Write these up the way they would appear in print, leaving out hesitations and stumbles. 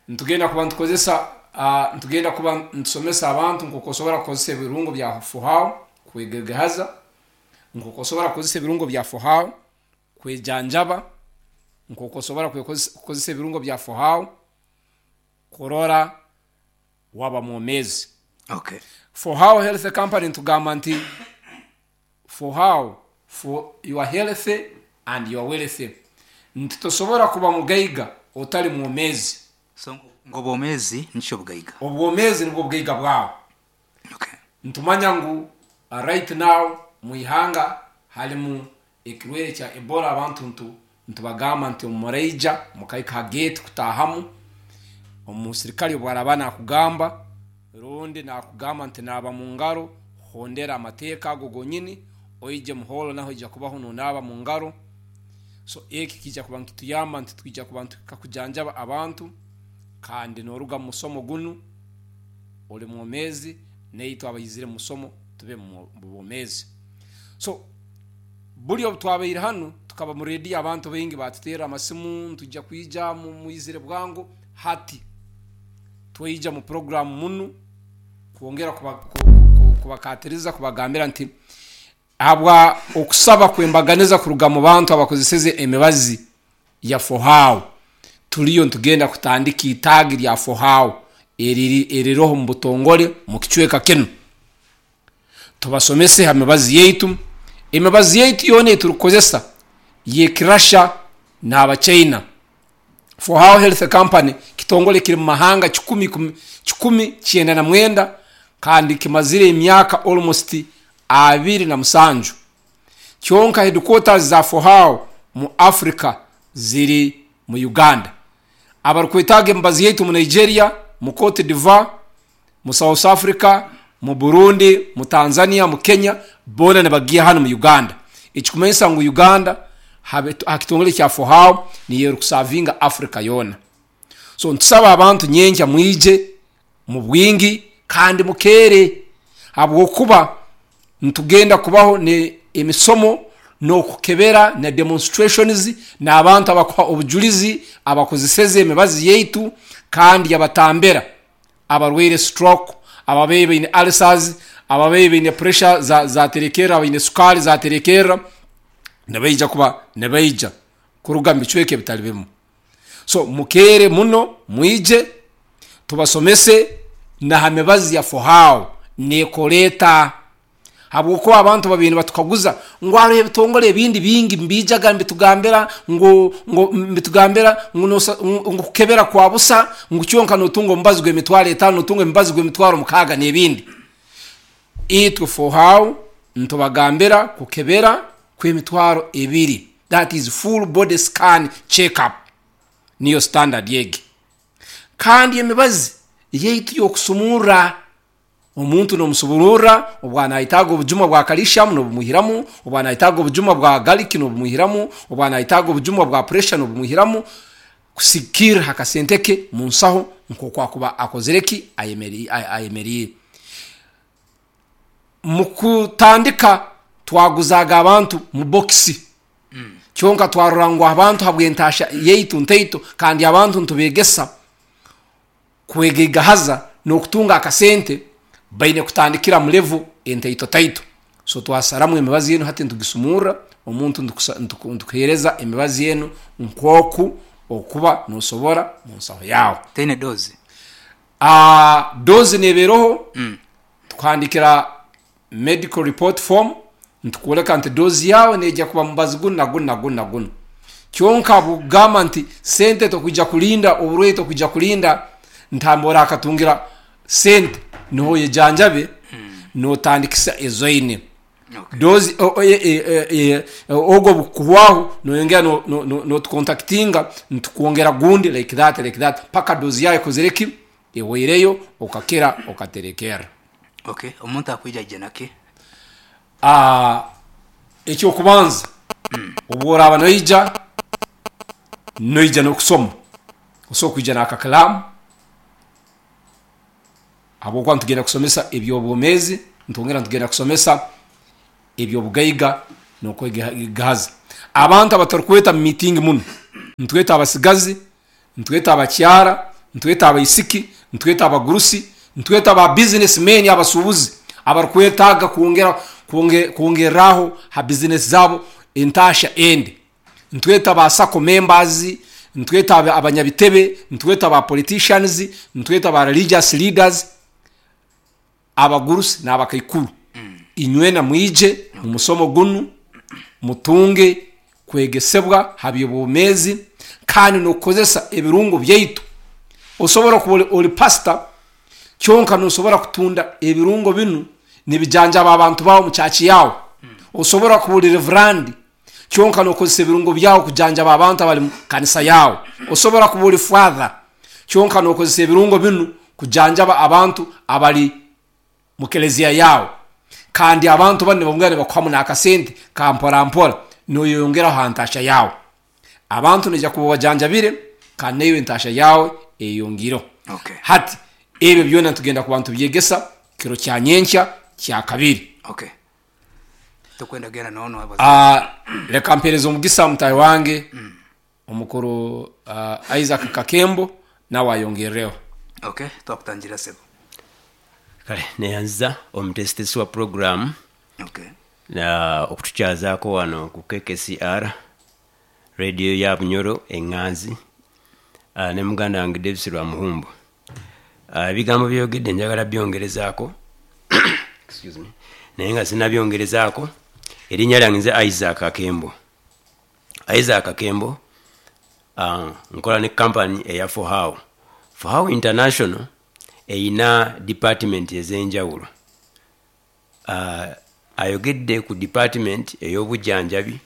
Nitugenda kuba nitukozesa nitugenda kuba nitusomesa abantu nk'oku osobora kukozesa ebirungo bya Fohow kwegegahaza, nk'oku osobora kukozesa ebirungo bya Fohow kwejanjaba, nk'oku osobora kukozesa ebirungo bya Fohow kurora waba mwomeezi. Okay. Fohow Health Company nitugamba nti Fohow for your health and your wealth nti tosobora kuba mugaiga otali mwomeezi. So ngu obwomeezi nikyo bugaiga. Obwomeezi nibwo bugaiga bwawe. Okay. Nitumanya ngu right now mwihanga harimu ekirwaire kya Ebola abantu ntu nitubagamba nti obu muraija mukahika ha gate kutahamu, omusirikare obu araba nakugamba rundi nakugamba nti naaba mungaro, hondera amateeka ago gonyini, oije mu hall naho oija kubaho nonaaba mungaro. So eki kiija kuba nikituyamba nti twija kuba nituhika kujanjaba abantu kandi noruga mumusomo gunu ori mwomeezi naitwe abaizire mumusomo tube mubwomeezi. So buri obu twabaire hanu tukaba mu rediyo abantu baingi batuterra amasimu nitwija kwija mwizire bwangu, hati twaija mu puroguramu munu kwongera kubakatiriza kubagambira nti habwa okusaba kwembaganiza kuruga mu bantu abakozeseze emibazi ya Fohow turiyo nitugenda kutandika itaagi rya Fohow eririho omu butongore omu kicweka kinu. Tubasomese ha mibazi yaitu. Emibazi yaitu yoona ei turikukozesa y'ekirasha n'abachaina. Fohow Health Company kitongore kiri mu mahanga 199 kandi kimazire emyaka almost 27. Kyonka headquarters za Fohow mu Africa ziri mu Uganda. Abarikwetaaga emibazi yaitu mu Nigeria, mu Cote d'Ivoire, mu South Africa, mu Burundi, mu Tanzania, mu Kenya boona nibagiiha hanu mu Uganda. Ekikumanyisa ngu Uganda ha kitongore kya Fohow niyo erikusavinga Africa yoona. So nitusaba abantu nyenkya mwije mu bwingi kandi mukeere habwokuba nitugenda kubaho emisomo n'okukebera na demonstrations n'abantu abakuha obujurizi abakozeseze emibazi yaitu kandi yabatambira abarwaire stroke, ababaire baine ulcers, ababaire baine pressure zaterekerra, abaine sukaali zaterekerra nibaija kuba nibaija kuruga omu bicweka ebitari bimwe. So mukeere muno mwije tubasomese na ha mibazi ya Fohow nekora eta habwokuba abantu babaire nibatukaguza ngu hariho ebitongore ebindi bingi nibiijaga nibitugambira ngu ngu nibitugambira ngu nosa ngu kukebera kwa busa ngu kyonka notunga omubazi gw'emitwaro etaano notunga emibazi gw'emitwaro mukaaga n'ebindi. Itwe Fohow nitubagambira kukebera kw'emitwaro ebiri that is full body scan check up niyo standard egi. Kandi emibazi yaitu y'okusumurra omuntu nomusubururra obu anayetaaga obujuma bwa calcium nobumwihiramu, obu anayetaaga obujuma bwa garlic nobumwihiramu, obu anayetaaga obujuma bwa pressure nobumwihiramu kusigikirra ha kasente ke munsaho nkoku akuba akozire ki ayemeriire. Mukutandika twaguzaaga abantu mu bokisi kyonka twarora ngu abantu habw'entaahya yaitu ntaito kandi abantu nitubeegesa kwegaigahaza n'okutunga akasente baine kutandikira mu level entaitotaito. So twasaramu emibazi enu hati nitugisumurra omuntu nitukuheereza emibazi enu nk'oku okuba nosobora mu nsaho yaawe. Teine doozi? Doozi neeba eroho, tukuhandikira medical report form nitukwoleka nti doozi yaawe neija kuba mubazi gunu na gunu na gunu na gunu. Kyonka bwokugamba nti sente tokwija kulinda, oburwaire tokwija kulinda ntambi orakatungira sente niho oyejanjabe notandikisa ezoine. Doozi ogu obukukuhwaho noyongera notukontakitinga nitukwongera gundi like that like that paka doozi yaawe ekozire ki? Ehweireyo okakira okaterekerra. Okay, omuntu akwija aije naki? Eky'okubanza obu oraaba noija, noija n'okusoma. Osobola kwija n'akakalaamu habwokuba nitugenda kusomesa eby'obwomeezi, nitwongera nitugenda kusomesa eby'obugaiga n'okwegahaza. Abantu abatarukweta mu miitingi muno, nitweta abasigazi. Nitweta abakyara, nitweta abaisiki, nitweta abagurusi, nitweta ba business men, abasuubuzi abarikwetaaga kwongera kwongerraho ha bizinesi zaabo entaasha endi. Nitweta ba sacco members, nitweta abanyabitebe, nitweta ba politicians, nitweta ba religious leaders, abagurusi n'abakaikuru. Inywena mwije omu musomo gunu mutunge kwegesebwa ha by'obwomeezi kandi n'okukozesa ebirungo byaitu. Osobora kuba oli pasita kyonka nosobora kutunda ebirungo binu nibijanjaba abantu baawe omu church yaawe. Osobora kuba oli reverandi kyonka nokozesa ebirungo byawe kujanjaba abantu abali mu kanisa yaawe. Osobora kuba oli father kyonka nokozesa ebirungo binu kujanjaba abantu abali mu kelezia yaawe. Kandi abantu banu nibongera nibakuhamu n'akasente ka mpora mpora noyeyongeraho ha ntaahya yaawe. Abantu noija kuba obajanjabire kandi naiwe entaahya yaawe eyeyongiireho. Okay. Hati ebyo byona nitugenda kuba nitubyegesa kiro kya nyenkya kyakabiri. Okay. Tokwenda kugenda noonu abaza. Ah, leka mpereze omugisa mutaahi wange omukuru ah, Isaac Kakembo nawe ayongerreho. Okay, twakutangira sebo. Kale neyanziza omuteesiteesi wa puroguraamu Okay. na okutukyazaako wano ku KKCR radio ya Bunyoro Enganzi ah, ne muganda wange Davis Rwamuhumbu. Ah, ebigambo byeyogedde njagala byongerezaako excuse me naye nga sinabyongerezaako erinnya lyange nze Isaac Kakembo. Isaac Kakembo ah, nkola ne kampani eya Fohow. Fohow International eyina department ez'enjawulo. Uh, ayogedde ku department ey'obujjanjabi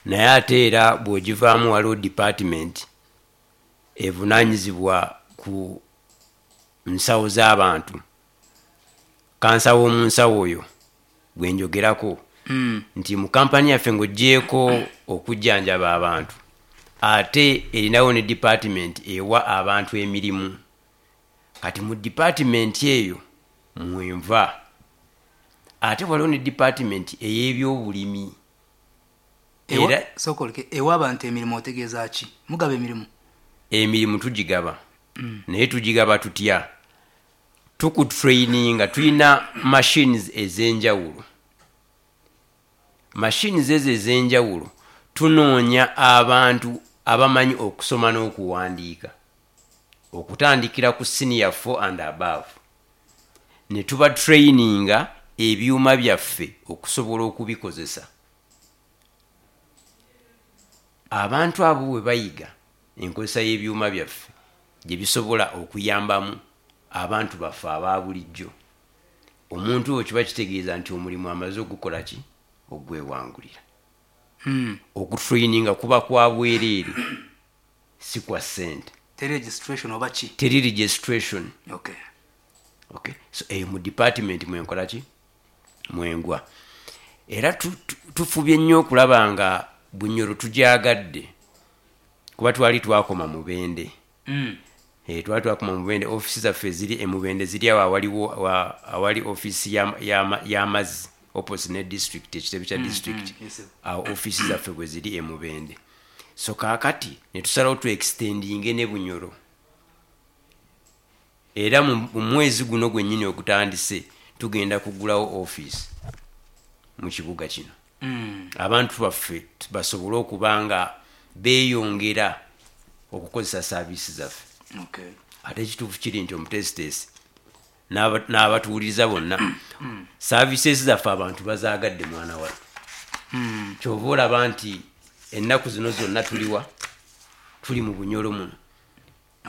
naye ate era bw'ogivaamu waliwo department evunaanyizibwa ku nsawo z'abantu. Kansa w'omu nsawo oyo gwe njogerako nti mu kampani yaffe ng'oggyeeko okujjanjaba abantu ate erinawo ne department ewa abantu emirimu. Kati mu department eyo mwenva. Ate waliwo ne department ey'ebyobulimi. Ewa, Era sooka oleke, ewa abantu emirimu otegeeza ki? Mugaba emirimu? Emirimu tugigaba naye tugigaba tutya? Tukutraininga, tulina machines ez'enjawulo. Machines ezo ez'enjawulo tunoonya abantu abamanyi okusoma n'okuwandiika okutandikira ku senior 4 and above ne tuba traininga ebyuma byaffe okusobola okubikozesa. Abantu abo bwe bayiga enkozesa y'ebyuma byaffe gye bisobola okuyambamu abantu baffe aba bulijjo, omuntu oyo kiba kitegeeza nti omulimu amaze ogukola ki? Ogwewangulira. Okutraininga kuba kwa bwereere, si kwa ssente. Teri registration oba ki? Teri registration. Okay. Okay. So eyo mu department mwenkola ki? Mwengwa. Era tufubye nnyo okulaba nga Bunyoro tugyagadde kuba twali twakoma Mubende. Twali twakoma Mubende, ofisi zaffe eziri e Mubende ziri awo awaliwo wa, awali ofisi y'amazzi opposite ne district, ekitebe kya district. Yes, sir. Awo ofisi zaffe bwe ziri e Mubende. So kaakati ne tusalawo tu extendinge ne Bunyoro. Era mu mwezi guno gwennyini ogutandise tugenda kugulawo office mu kibuga kino. Abantu baffe basobole okuba nga beeyongera okukozesa saaviisi zaffe. Okay. Ate ekituufu kiri nti omuteesiteesi n'abatuwuliriza bonna services zaffe abantu bazaagadde mwana wattu. Kyova olaba nti ennaku zino zonna tuliwa tuli mu Bunyoro muno.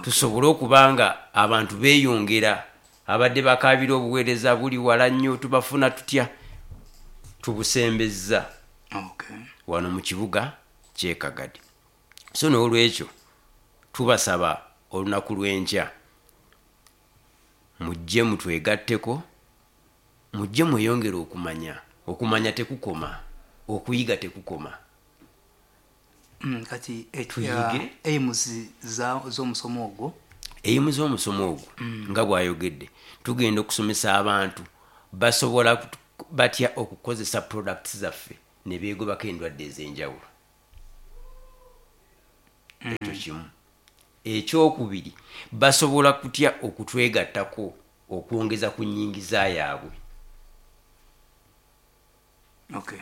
Tusobole okuba nga abantu beeyongera abadde bakaabira obuweereza buli wala nnyo tubafuna tutya tubusembezza Okay. wano mu kibuga ky'e Kagadi. So n'olwekyo tubasaba olunaku lw'enkya mujje mutwegatteko, mujje mweyongere okumanya. Okumanya tekukoma, okuyiga tekukoma. Kati Tuyige. Aims z'omusomo ogwo? Aims z'omusomo ogwo nga bw'ayogedde, tugenda okusomesa abantu basobola batya okukozesa products zaffe ne beegobako endwadde ez'enjawulo. Ekyo kimu. Ekyokubiri, basobola kutya okutwegattako okwongeza ku nnyingiza yaabwe? Okay.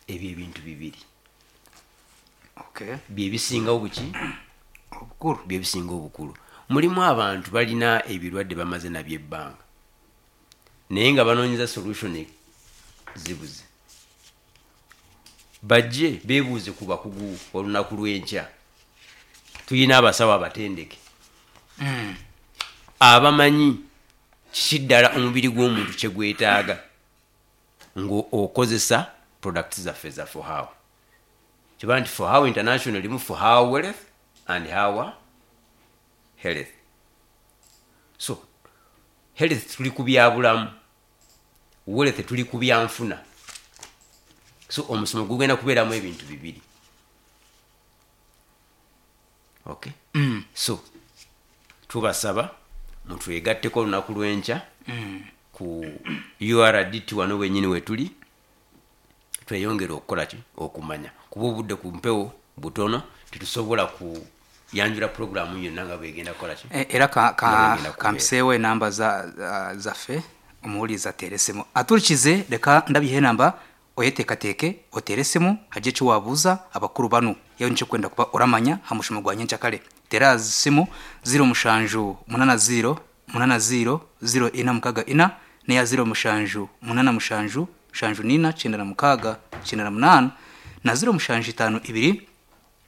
Ebyo ebintu bibiri. Okay. Bye bisingawo buki? Obukulu. Bye bisinga obukulu. Mulimu abantu balina ebirwadde bamaze nabyo ebbanga naye nga banoonyeza solution zibuze. Bajje beebuuze ku bakugu olunaku lw'enkya. Tulina abasawo abatendeke abamanyi kiki ddala omubiri gw'omuntu kye gwetaaga ng'okozesa products zaffe za For How. Kiba nti For How International erimu For How Wealth and How Health. So health tuli ku byabulamu, wealth tuli ku byanfuna. So omusomo gugenda kubeeramu ebintu bibiri. Okay? So tubasaba mutwegatteko olunaku lw'enkya ku URDT wano wenyini wetuli, tweyongere okukola ki? Okumanya, kuba obudde ku mpewo butono, tetusobola kuyanjula puroguramu yonna nga bwegenda kukola ki? Era Nga bwegenda kubeera. Kampiseewo enamba zaffe, omuwuliriza ateere esimu aturikize. Reka ndabiha enamba, oyeteekateeke oteere esimu, hagire eki waabuuza abakuru banu yaaba nikyo orikwenda kuba oramanya aha mushomo gwa nyencakare. Teera aha simu 0780 80 0464 n'eya 07 87 74 96 98 na 0752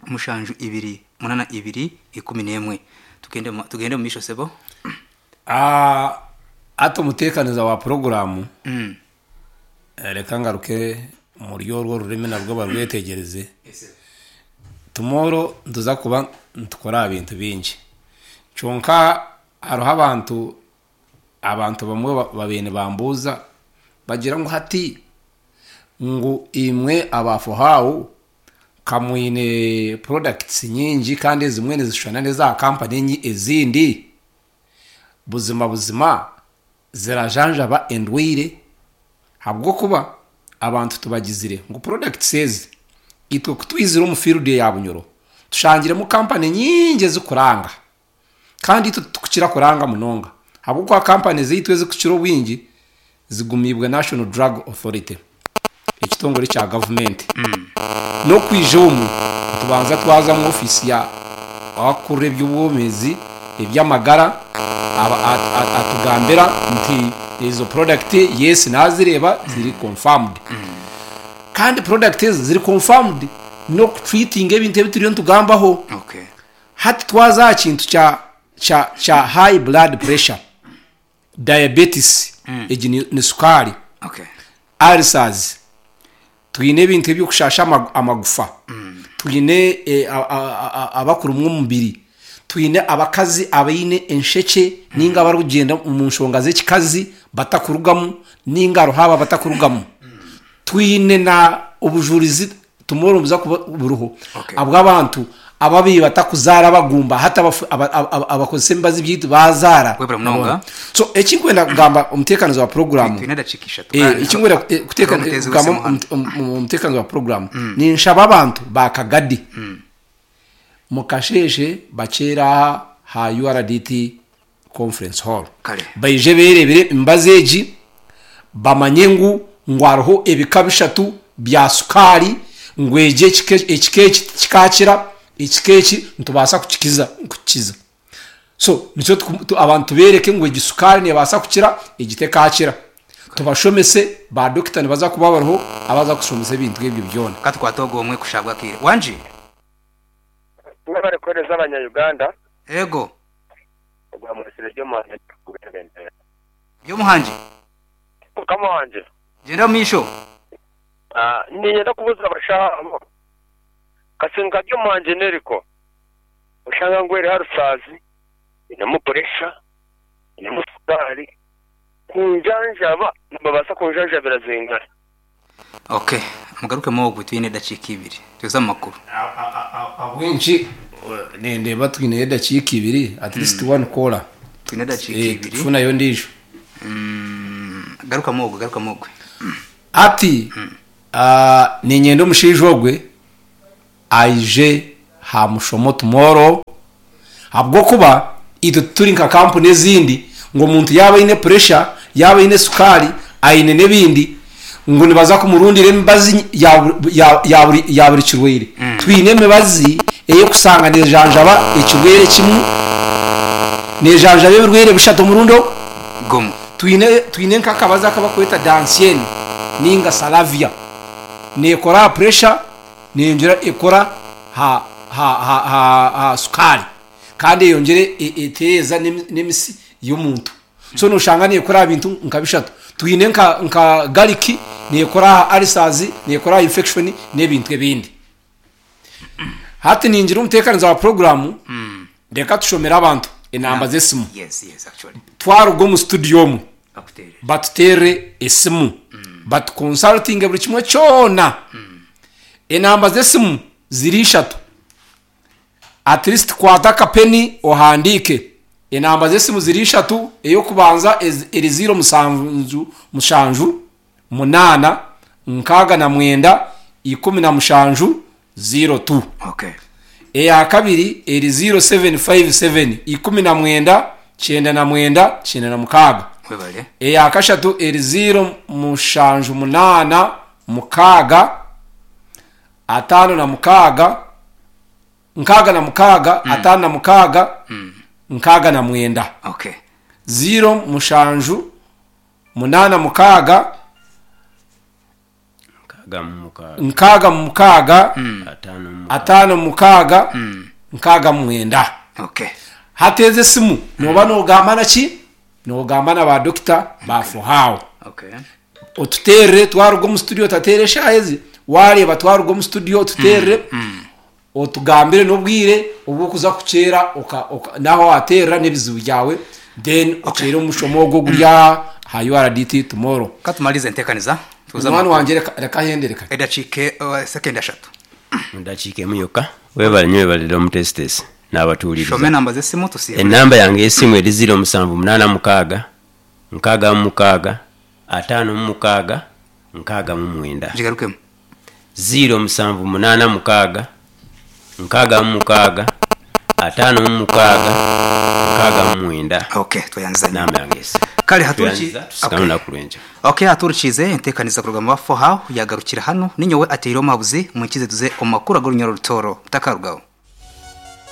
72 82 11. Tugende omu maisho, sebo. Hati omuteekaniza wa puroguraamu, reka ngaruke muri orwo rurimi narwo barwetegyereze. Tomorrow nituza kuba nitukora aha bintu bingi, kyonka hariho abantu bamwe babaire nibambuuza bagira ngu hati ngu imwe aba For How ka mwine products nyingi kandi ezimwe nizishushana n'eza kampani ezindi, buzima buzima zirajanjaba endwaire? Ahabw'okuba abantu tubagizire ngu products ezi, itwe ku twizire omu field ya Bunyoro tushangiremu kampani nyingi ezikuranga, kandi itwe titukukira kuranga munonga ahabw'okuba kampani zaitu ezikukira obwingi zigumiibwe National Drug Authority, ekitongore kya gavumenti. N'okwija omu nitubanza twaza omu ofiisi ya abakukurira eby'obwomeezi, eby'amagara, atugambira nti ezo product yes nazireeba ziri confirmed. Kandi product ezo ziri confirmed n'okutreatinga ebintu ebi turiyo nitugambaho. Hati twaza aha kintu kya high blood pressure, diabetes, egi ni sukaari, ulcers, twine ebintu eby'okushaasha amagufa, twine abakurumwa omubiri, twine abakazi abaine enshekye nainga abarikugyenda omu nshonga z'ekikazi batakurugamu nainga hariho abo abatakurugamu. Twine na obujurizi tomorrow nibuza kuba buriho abw'abantu ababaire batakuzaara abagumba hati abakozesa emibazi byaitu baazaara. Webare munonga. So eki nkwenda kugamba omuteekanizi wa puroguraamu, Twine edakiika ishatu. Eki nkwenda Hariho omuteezi kugamba w'esimu hanu. omuteekanizi wa puroguraamu, ninshaba abantu ba Kagadi mukasheeshe bakyeere aha ha URDT Conference Hall Kare. Baije beereebere emibazi egi, bamanye ngu hariho ebika bishatu bya sukaari, ngu egi ekika ekika eki tikikaakira, ekika eki nitubaasa kukikiza kukikiza. So nikyo abantu tubeereke ngu egi sukaari neebaasa kukira, egi tekaakira. Tubashomese, ba dokita nibaza kuba bariho abaza kushomesa ebintu ebyo byona. Ka tukwate ogwo omwe kushabwa akaire. Wangi? Mwebare kuhereza abanya Uganda. Ego. Ogwa mwesire Byomuhangi ndikubebembera. Byomuhangi. Mukama wangye. Gyenda omu maisho. Niinyenda kubuuza abashaho abo, Kasinga Byomuhangi n'eriko oshanga ngu eriho arusaazi, einemu puresha, einemu sukaari, kunjanjaba nibabaasa kunjanjabira zingari? Ok, mugarukemu ogwe twine edakiika ibiri tuze omu makuru. Ahabw'enki nindeeba twineyo edakiika ibiri, at least one caller. Twine edakiika ibiri. Tufunayo ondiijo. Garukamu ogwe, garukamu ogwe. Hati niinyenda omushaija ogwe aije aha mushomo tomorrow. Ahabw'okuba itwe tituri nka kampuni ezindi ngu omuntu yaaba aine puresha, yaaba aine sukaari, aine n'ebindi ngu nibaza kumurundira emibazi ya buri kirwaire. Twine emibazi ey'okushanga neejanjaba ekirwaire kimwe, neejanjaba ebirwaire bishatu omurundi gumwe. Twine nk'akabazi aku barikweta Dansien nainga Salavia. Neekora aha puresha, neyongyera ekora aha sukaari kandi eyongyera etereeza n'emitsi y'omuntu. So noshanga nekora aha bintu nka bishatu. Twine nka garlic nekora aha ulcers, nekora aha infection n'ebintu ebindi. Hati ningira omuteekaniza wa puroguraamu reka tushomere abantu enamba z'esimu. Twaruga omu studio omu batuteerere esimu batukonsarutinge buri kimwe kyona. Enamba z'esimu ziri ishatu. At least kwata akapeni ohandiike. Enamba z'esimu ziri ishatu, ey'okubanza eri ziiro mushanju mushanju munaana 69 17 02. Eya kabiri eri ziiro seveni fayivu seveni 19 99 96. Eya kashatu eri ziiro mushanju munaana mukaaga 56 66 56 69. Ziiro mushanju munaana mukaaga 66 56 69. Hati ezi esimu nooba noogamba na ki? Noogamba na ba dokita ba Fohao. Otuteerere twaruga omu studio otateera eshaaha ezi, waareeba twaruga omu studio otuteerere otugambire n'obwire obu orikuza kukyera n'ahu waateerera n'ebizibu byawe then okyere omushomo ogwo oguri aha URDT tomorrow. Ka tumalirize enteekaniza tuze Munywani wangye reka ahendere kare. Edakiika sekendi ashatu. Omu dakiika emwe yoka. Webale nyo webalire omutesitesi nabatuhuririza. Shoma enamba z'esimu tusiibure. Enamba yange y'esimu eri 0786 66 56 69. Gigarukemu. 0786 66 56 69. Okay, tweyanziza nnyo. Enamba yange y'esimu. Kare hati Tweyanziza tusigamane olunaku lw'enkya. Okay, hati enteekaniza kuruga mu ba Fohao yaagarukira hanu. Ninyowe ateire omuhabuzi, mwikize tuze omu makuru ag'orunyoro Rutooro. Mutakarugaho.